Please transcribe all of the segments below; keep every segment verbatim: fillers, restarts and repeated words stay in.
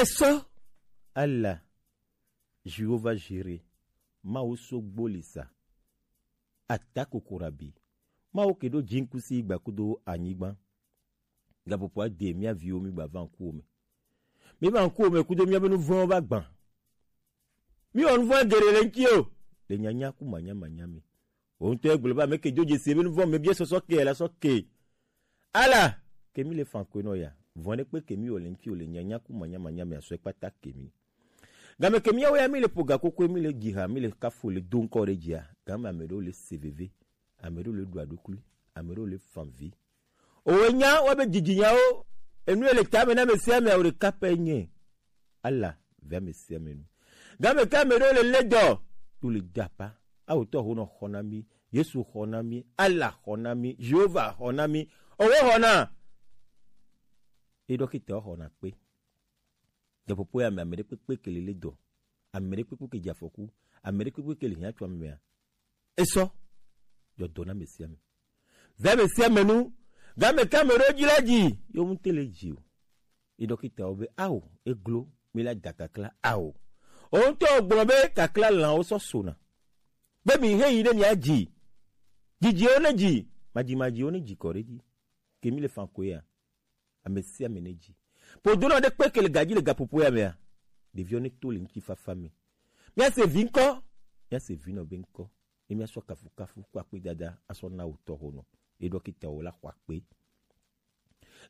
Esɔ ala Jehova Jire, Mawu so gbolisa, ata kokorabi, Mawu ke ɖo jinkusi gba kudo anyigba. Gapopo ade mia viwo mi gba va ŋkuwo me. Mi va ŋkuwo me kudo mia be nuvɔnwo va gban. Mi wɔ nuvɔn geɖe le ŋuti o. Le nyanya ku manya manya mi. Wo ŋutɔ egblɔ be ame ke dzo dzesi ebe nuvɔn me bia sɔsɔ ke la sɔ ke. Ala ke mi le fan koe nɔ ya. Vɔn ɖe kpe ke mi wɔ le ŋuti o le nyanya ku manya manya mi asɔ kpata ke mi. Game ke miawo ya mi le ƒo gakokoe, mi le dzi ha, mi le kafo le do ŋkɔ ɖe dzia, game ame ɖewo le se veve, ame ɖewo le ɖu aɖukli, ame ɖewo le fan vi. Owe nya wa be dzidzinyawo, enu ye le tame na ame sia ame awo ɖeka pɛ nye. Ala ve ame sia ame nu. Game ke ame ɖewo le le dɔ, to le dapa. Awo tɔ ho nɔ xɔ na mi, Yesu xɔ na mi, Ala xɔ na mi, Jehova xɔ na mi, owe xɔ na. E dɔkita xɔ na kpe. Gaƒoƒo ya me, ame ɖe kpekpe ke le le dɔ, ame ɖe kpekpe ke dze afɔku, ame ɖe kpekpe ke le hiã tso ame mea, esɔ dzɔ dɔ na ame sia ame. Ve ame sia ame nu, game ke ame ɖewo dzi la dzi, yewo ŋute le dzi o. Ye dɔkitawo be, ao, eglo, mi la da kakla, ao. O ŋutɔ gblɔ be kakla lãwo sɔ sona. Be mi he yi ɖe mia dzi. Dzidziwo ne dzi, madzimadziwo ne dzi kɔ ɖe dzi. Ke mi le fan koe ya. Ame sia ame nedzi. Ƒodonɔ ɖe kpe ke le gadzi le gaƒoƒo ya mea, ɖeviwo neto le ŋutifafa me. Míase vi ŋkɔ, míase vinɔ be ŋkɔ, ye míasɔ kafukafu kple akpedada asɔ na wò tɔxonɔ, ye dɔkitawo la xɔ akpe.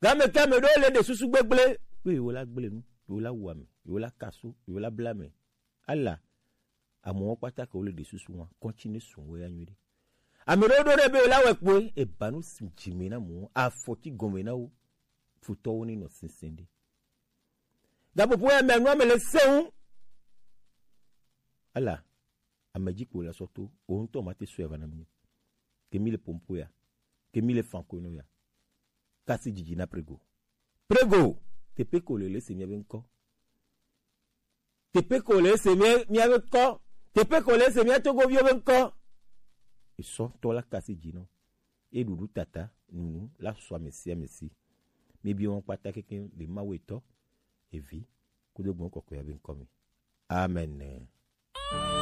Game ke ame ɖewo le ɖe susu gbegblẽ be yewo la gblẽ nu, yewo la wu ame, yewo la kaso, yewo la bla ame. Ala, amewo kpata ke wole ɖe susu ŋua, kɔntsi ne su wo ya nyuie ɖe. Ame ɖewo ɖo ɖe be la wɔ kpoe, eba nu si dzime na mo, afɔti gɔme na wo, futɔwo ne nɔ sese ɖe. Gaƒoƒo ya me anu ame le seŋ. Ala, ame dzi kpo la sɔ to, o ŋutɔ ma te sɔe va na mi. Ke mi le pompo ya, ke mi le fanko no ya. Kasi dzidzi na prego. Prego, tepe ko le le se mi be ŋkɔ. Teƒe ko le ese mía, míaƒe kɔ. Teƒe ko le ese mía togoviwo be ŋkɔ. Esɔ tɔ la kasi dzi nɔ. Eɖuɖu tata nunu la sɔ ame sia ame si. Míebi wɔn kpata kekeŋ le Mawu etɔ, evi, kudo gbɔn kɔkɔe be ŋkɔ me. Amen.